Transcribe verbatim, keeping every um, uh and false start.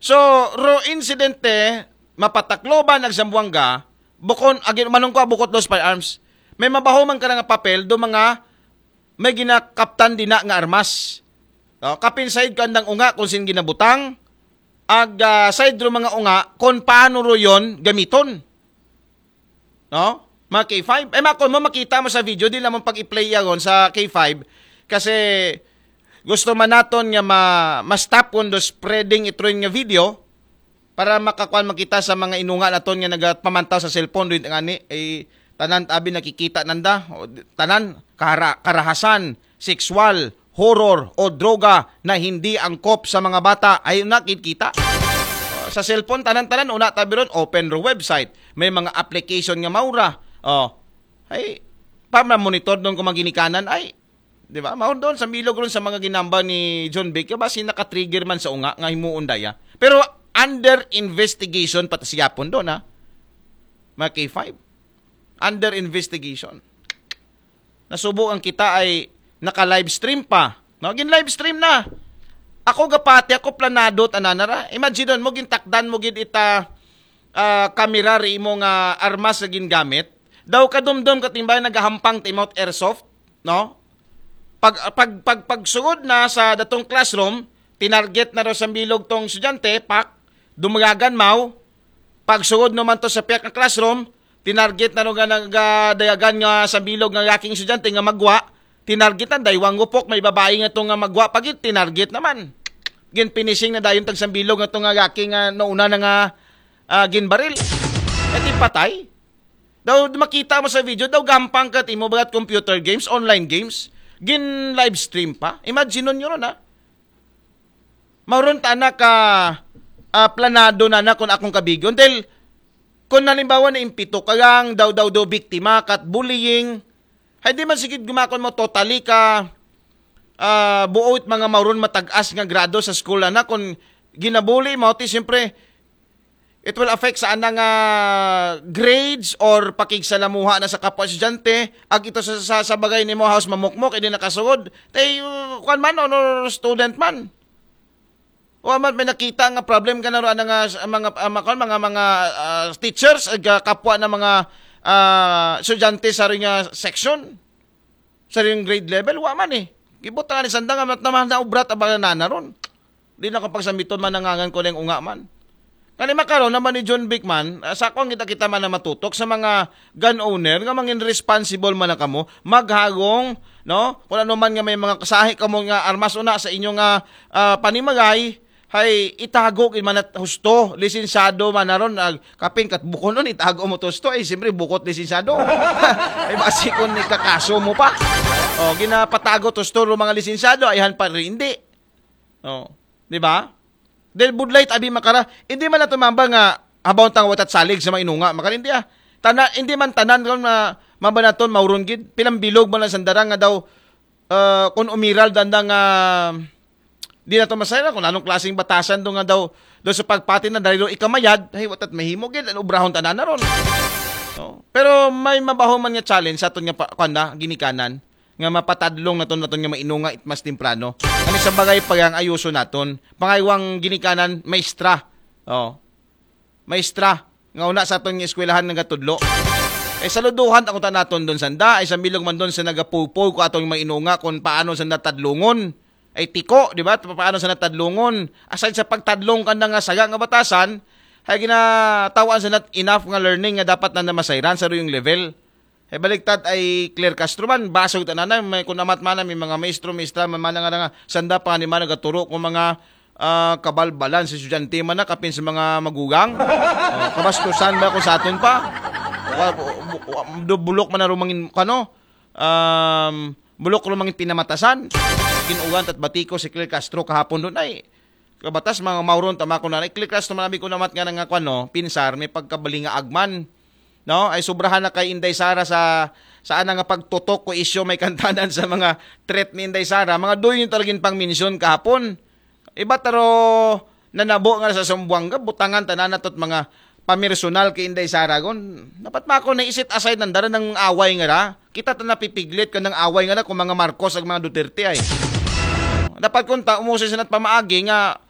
So, ro insidente, mapatakloban ag Zamboanga, bukon, agi, manungko bukot dos firearms. May mabaho man ka nga papel, do mga may ginakaptan dina nga armas. No? Kapin side ko andang unga kung sin ginabutang, ag ah, side ro mga unga kung paano ro yon gamiton. No? Mga K five. Eh, makon mo, makita mo sa video, di lamang pag-i-play yagon sa K five. Kasi gusto man naton nga ma ma-stop kon do spreading itron nga video para makakuan makita sa mga inunga naton nga nagapamantaw sa cellphone do ngani, eh, tanan abi nakikita nanda, o, tanan kara, karahasan, sexual, horror o droga na hindi angkop sa mga bata ay nakikita. Sa cellphone tanan-tanan una tabi ron, open ro website, may mga application nga maura. Oh. Ay pa monitor doon kung maginikanan ay, di ba? Maur doon sa milog ron sa mga ginamba ni John Vic, basi naka-trigger man sa unga nga himuon daya. Pero under investigation pa ta siyapon doon, ha. Mga K five. Under investigation. Nasubo ang kita ay naka-live stream pa. No, gin live stream na. Ako gapati, ako planado tananara. Imagine mo gintakdan mo gid ita ah, kamera ri imo nga armas nga gingamit. Daw kadumdum katimbang nagahampang ti imo airsoft, no? Pag pag pag pagsugod na sa datong classroom, tinarget na ro sa bilog tong estudyante, pak, dumagagan maw. Pagsugod no man to sa piyak nga classroom, tinarget na ro nga nagadayagan nga sa bilog nga yaking estudyante nga magwa, tinarget na daywang gupok may babae nga to nga magwa pagit tinarget naman. Gin finishing na dayon tag sambilog nga to nga yaking nga nauna na nga ah, ginbaril. E di patay. Daw makita mo sa video, daw gampang ka timo bagat computer games, online games. Gin live stream pa. Imagine nyo ron ha. Mauron ta na ka ah, planado na na kung akong kabigyon. Dahil kung halimbawa na impito ka lang, daw daw daw biktima, kat bullying, hay di man sigid gumakon mo totally ka ah, buot mga mauron matag-as nga grado sa school na kung ginabuli mo, ti siyempre, it will affect sa anang ah, grades or pakigsalamuha na sa kapwa estudyante, ag ito sa, sa, sa bagay nimo haos mamukmok, hindi nakasugod. Tay, uh, kwan man, honor student man. O amat may nakita nga problem ka na ro, anang ah, mga, ah, mga, mga, mga ah, teachers, ag ah, kapwa na mga ah, estudyante sa ring ah, section. Sa ring grade level, wa man eh. Gibot nga ni sanda nga mat naman na ubrat abang na ron. Di na ko pagsambiton man nangangan ko ning unga man. Kani makaron naman ni John Vic man, ah, sa akong kita-kita man na matutok sa mga gun owner nga mangin responsible man na kamo, maghagong, no? Kung ano man nga may mga kasahi kamo nga armas una sa inyo nga ah, panimagay, hay itago gid man at husto, lisensyado man na ron, ag, kapin kat bukon nun, itago mo to husto, ay siyempre bukot lisensyado. Ay basi kung ikakaso mo pa. O, ginapatago to husto ro mga lisensyado, ayhan pa rin, hindi. O, di ba? Dahil budlay tabi makara, hindi man nato mamba nga habaw tang watat salig sa mga inunga, makara hindi ah. Tana, hindi man tanan kung na mamba naton mauron gid, pilang bilog man lang sandara nga daw ah, kung umiral danda nga di na to masayra kung anong klaseng batasan do nga daw do sa pagpati na dahil do ikamayad, ay watat mahimo gid ang obrahon tanan na ron. No? Pero may mabaho man nga challenge sa aton nga pa, kanda, ginikanan nga mapatadlong naton naton nga mainunga it mas temprano. Kani sa bagay pa ang ayuso naton. Pangaywang ginikanan, maestra. Oh. Maestra, nga una sa aton nga eskwelahan nagatudlo. Ay saluduhan ako ta naton doon sanda, ay sa milog man doon sa nagapupog ko atong mainunga kung paano sa natadlungon. Ay tiko, di ba? Paano sa natadlungon? Aside sa pagtadlong kanda nga saga nga batasan, ay ginatawaan sa nat enough nga learning nga dapat na namasayran sa ruyong level. Ay baliktad ay Claire Castro man, basog tanana, may kunamat man may mga maestro, maestra man man nga nga sanda pa ni man nagaturo kung mga ah, kabalbalan sa estudyante man na kapin sa mga magugang. Oh, kabastusan ba kung sa aton pa? Wa- bu- bu- do- bulok man na rumangin kano? Um, bulok rumangin pinamatasan. Ginugan tat batiko si Claire Castro kahapon doon ay kabatas mga mauron tama ko na. Ay Claire Castro man abi ko namat nga nga kwan, no? Pinsar, may pagkabalinga agman. No? Ay sobrahan na kay Inday Sara sa sa ana nga pagtutok ko isyo may kantanan sa mga threat ni Inday Sara. Mga doon yung talagang pang-mention kahapon. Iba taro nanabo nga sa Zamboanga, butangan tanan natot mga pamersonal kay Inday Sara gon. Dapat mako na isit aside ng dara ng away nga ra. Kita ta napipiglit ka ng away nga ra kung mga Marcos ag mga Duterte ay. Dapat kung ta umusi sa nat pamaagi nga